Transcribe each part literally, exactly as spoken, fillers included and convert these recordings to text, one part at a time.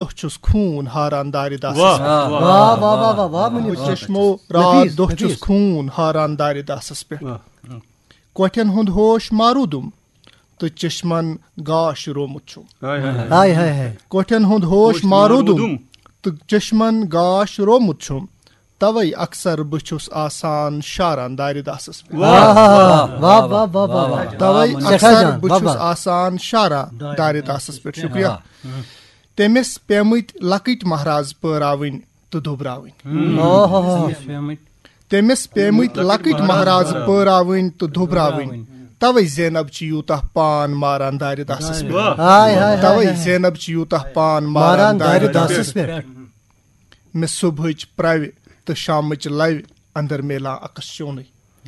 دۄہ چھُس خوٗن ہاران دارِ داسس پٮ۪ٹھ۔ واہ، واہ، واہ، واہ، واہ، مُنیٖب بہٕ صٲب۔ چشمو راتھ نفیٖس، دۄہ چھُس نفیٖس۔ خوٗن ہاران دارِ داسس پٮ۪ٹھ۔ واہ۔ کۄٹھٮ۪ن ہُنٛد ہوش مارودُم تہٕ چشمن گاش رومُت چھُم۔ ہاے، ہاے، ہاے۔ ہاے، ہاے، ہاے۔ کۄٹھٮ۪ن ہُنٛد ہوش ہوش مارودُم مارودُم۔ تہٕ چشمن گاش رومُت چھُم۔ توے اکثر بہٕ چھُس آسان شاران دارِ داسس پٮ۪ٹھ۔ واہ، واہ، واہ، واہ، واہ، واہ، واہ۔ توے سٮ۪ٹھاہ اکثر جان، بہٕ واہ، چھُس واہ۔ آسان شاران دارِ داسس پٮ۪ٹھ۔ شُکریہ۔ واہ۔ تٔمِس پیمٕتۍ لۄکٕٹۍ مہراز پٲراوٕنۍ تہٕ دُبراوٕنۍ۔ اوہ۔ تٔمِس پیمٕتۍ لۄکٕٹۍ مہراز پٲراوٕنۍ تہٕ دُبراوٕنۍ۔ توے زینب چھِ یوٗتاہ پان ماران دارِ داسس پٮ۪ٹھ۔ واہ۔ ہاے، ہاے، ہاے، توے ہاے۔ زینب چھِ یوٗتاہ پان ماران ماران دارِ دارِ داسس داسس پٮ۪ٹھ۔ مےٚ صبحٕچ پرٛوِ تہٕ شامٕچ لوِ اندر میلان عکس چونٕے۔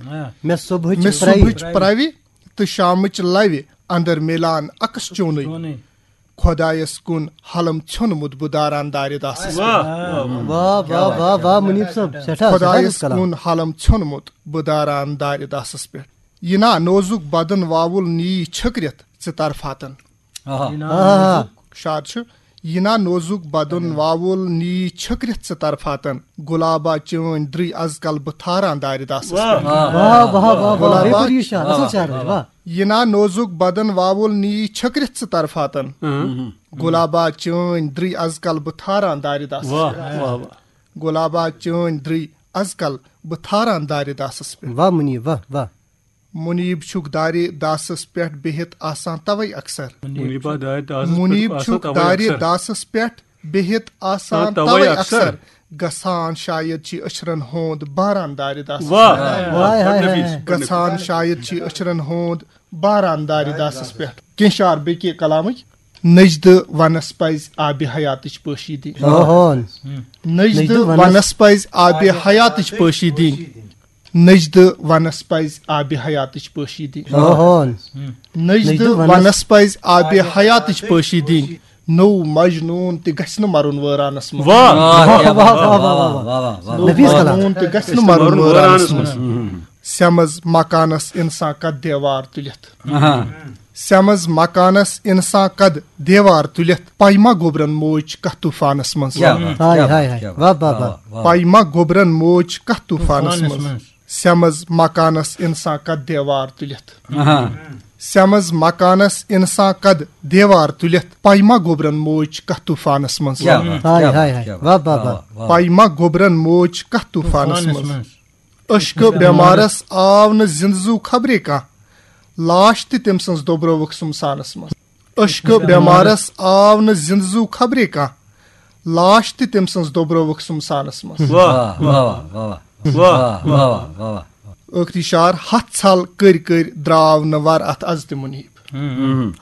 آ۔ مےٚ صبحٕچ مےٚ پرٛوِ۔ صبحٕچ پرٛوِ تہٕ شامٕچ لوِ اندر میلان عکس چونٕے۔ چونٕے۔ خۄدایس کُن حلم ژھیوٚنمُت بہٕ داران دارِ داسس پٮ۪ٹھ۔ واہ، واہ، واہ، واہ، مُنیٖب صٲب، سٮ۪ٹھاہ، سٮ۪ٹھاہ کلام۔ خۄدایس کُن حلم ژھیوٚنمُت بہٕ داران دارِ داسس پٮ۪ٹھ۔ یہِ نا نوزُک بدن واوُل نی چھٔکرِتھ ژٕ طرفاتن۔ آہا۔ آہا۔ شاد چھُ۔ یہِ نا نوزُک بدن واوُل نی چھٔکرِتھ ژٕ طرفاتن۔ گُلابا چٲنۍ درٕے از کل بہٕ تھاران دارِ داسس واہ۔ پٮ۪ٹھ۔ واہ، واہ، واہ، واہ، گُلابا بے پوری شعر، اصل شعر، واہ۔ یہِ نا نوزُک بدن واوُل نی چھٔکرِتھ ژٕ طرفاتن۔ اۭں۔ گُلابا چٲنۍ درٕے از کل بہٕ تھاران دارِ داسس واہ، پٮ۪ٹھ۔ واہ، واہ۔ گُلابا چٲنۍ درٕے از کل بہٕ تھاران دارِ داسس پٮ۪ٹھ۔ واہ مُنیٖب، واہ، واہ۔ مُنیٖب چھُکھ دارِ داسس پٮ۪ٹھ بِہِتھ آسان توے اکثر۔ مُنیٖبا دارِ داسس پٮ۪ٹھ مُنیٖب آسان چھُکھ توے دارِ اکثر۔ داسس پٮ۪ٹھ بِہِتھ آسان آ، توے توے اکثر۔ اکثر۔ گژھان شاید چھِ أچھرن ہوند باران دارِ داسس واہ، پٮ۪ٹھ۔ واہ، ہاے، ہاے، ہاے، نفیٖس، ہاے۔ گژھان شاید چھِ أچھرن ہوند باران دارِ داسس پٮ۪ٹھ۔ کینٛہہ شعر بیٚیہِ کہِ کلامٕکۍ۔ نجدٕ ونس پزِ آبِ حیاتٕچ پٲشی دِنۍ۔ اوہون۔ نجدٕ نجدٕ ونس ونس پزِ آبِ حیاتٕچ پٲشی دِنۍ۔ نجدٕ ونس پزِ آبِ حیاتٕچ پٲشی دِنۍ۔ اوہون۔ نجدٕ نجدٕ ونس ونس پزِ آبِ حیاتٕچ پٲشی دِنۍ۔ نوٚو مجنوٗن تہِ گژھِ نہٕ مرُن وٲرانس منٛز۔ واہ۔ واہ، واہ، واہ، واہ، واہ، واہ، واہ۔ نوٚو نفیٖس کلام۔ مجنوٗن تہِ گژھِ نہٕ مرُن وٲرانس منٛز۔ سیمز مکانس انسان کتھ دیوار تُلِتھ۔ اہا۔ سیمز مکانس انسان کد دیوار تُلِتھ۔ پاے ما گوبرن موج کتھ طوفانس منٛز۔ کیا بات، ہاے، کیا ہاے، بات، ہاے۔ کیا بات۔ واہ، واہ، واہ، واہ۔ واہ۔ پاے ما گوبرن موج کتھ طوفانس طوفانس منٛز۔ منٛز۔ سیمز مکانس انسان کد دیوار تُلِتھ۔ اہا۔ سیمز مکانس انسان کد دیوار تُلِتھ۔ پاے ما گوبرن موج کتھ طوفانس منٛز۔ کیا بات، ہاے، کیا ہاے، بات، ہاے۔ کیا بات۔ واہ، واہ، واہ۔ واہ، واہ۔ پاے ما گوبرن موج کتھ طوفانس طوفانس منٛز۔ منٛز۔ عشقہٕ بٮ۪مارس آو نہٕ زِنٛدٕ زُو خبرے کانٛہہ، لاش تہِ تٔمۍ سٕنٛز دۄبرٲوٕکھ سُمسانس منٛز۔ عشقہٕ بٮ۪مارس آو نہٕ زِنٛدٕ زُو خبرے کانٛہہ، لاش تہِ تٔمۍ سٕنٛز دۄبرٲوٕکھ سُمسانس منٛز۔ واہ، واہ، واہ، واہ، واہ۔ واہ، واہ، واہ، واہ، واہ۔ ٲخری شعر، ہتھ ژھل کٔرۍ کٔرۍ درٛاو نہٕ ور اتھ از تہِ مُنیٖب۔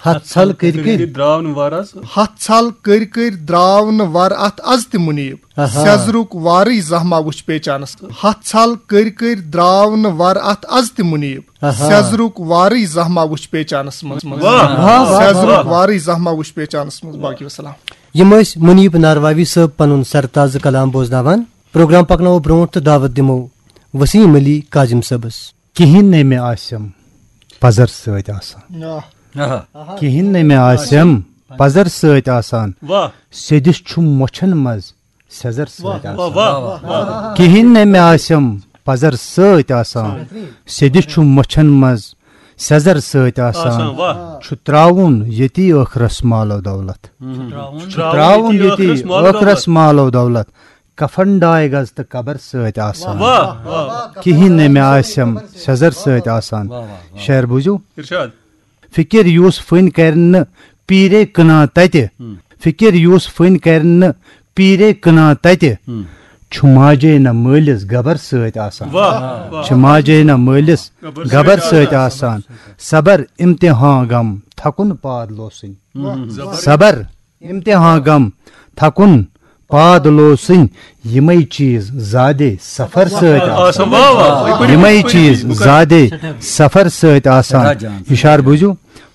ہتھ ژھل کٔرۍ کٔرۍ۔ درٛاو نہٕ ور از۔ ہتھ ژھل کٔرۍ کٔرۍ درٛاو نہٕ ور اتھ از تہِ مُنیٖب۔ آہا۔ سیٚزرُک وارٕے زانٛہہ ما وُچھ پیچانس۔ ہتھ ژھل کٔرۍ کٔرۍ درٛاو نہٕ ور اتھ از تہِ مُنیٖب۔ آہا۔ سیٚزرُک وارٕے زانٛہہ ما وُچھ پیچانس منٛز۔ واہ، واہ، واہ، سیٚزرُک واہ۔ وارٕے زانٛہہ ما وُچھ پیچانس منٛز۔ باقی وسلام۔ یِم ٲسۍ مُنیٖب نارواوی صٲب پنُن سرتازٕ کلام بوزناوان۔ پروگرام پکناوو برونٛٹھ تہٕ دعوت دِمو وسیٖم علی کاظم صٲبس۔ کِہیٖنۍ نے مےٚ آسٮ۪م پزر سۭتۍ آسان۔ آہ۔ آہا۔ کِہیٖنۍ نے مےٚ آسٮ۪م پزر سۭتۍ آسان۔ واہ۔ سیٚدِس چھُم مۄچھن منٛز سیٚزر سۭتۍ واہ، آسان۔ واہ، واہ، واہ۔ کِہیٖنۍ نے مےٚ آسٮ۪م پزر سۭتۍ آسان۔ سیٚدِس چھُم مۄچھن منٛز سیٚزر سۭتۍ آسان۔ آسان، واہ۔ چھُ ترٛاوُن ییٚتی ٲخرس مال و دولت۔ چھُ ترٛاوُن ییٚتی ٲخرس مال و دولت۔ کفن ڈاے گز تہٕ قبر سۭتۍ آسان۔ واہ، واہ، واہ۔ کِہیٖنۍ نے مےٚ آسٮ۪م سیٚزر سۭتۍ آسان۔ واہ، واہ، واہ۔ شعر بوٗزِو۔ ارشاد۔ فکر یُس فٕنۍ کرِ نہٕ پیٖرے کٕنان تتہِ۔ ہم۔ فکر یُس فٕنۍ کرِ نہٕ پیٖرے کٕنان تتہِ۔ ہم۔ چھُ ماجے نہ مٲلِس گبر سۭتۍ آسان۔ واہ، واہ۔ چھُ ماجے نہ مٲلِس گبر گبر سۭتۍ سۭتۍ آسان۔ آسان۔ صبر، امتحان، غم، تھکُن پاد لوسٕنۍ۔ واہ۔ صبر، امتحان، غم، تھکُن، پاد لوسٕنۍ، یِمے چیٖز زادے سفر سۭتۍ آسان۔ آسان، واہ، واہ، واہ۔ یِمے چیٖز زادے سفر سۭتۍ آسان۔ سٮ۪ٹھاہ جان۔ یہِ شعر بوٗزِو،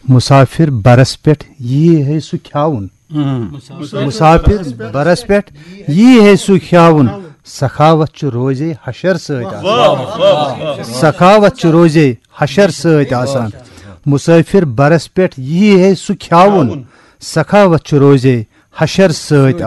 مسافر برس پٮ۪ٹھ یی ہے سُہ کھیاوُن۔ ہم۔ مسافر برس پٮ۪ٹھ یی ہے سُہ کھیاوُن، سخاوت چھُ روزے حشر سۭتۍ آسان۔ واہ، واہ، واہ، واہ۔ سخاوت چھُ روزے حشر سۭتۍ آسان۔ مسافر برس پٮ۪ٹھ یی ہے سُہ کھیاوُن، سخاوت چھُ روزے حشر سۭتۍ۔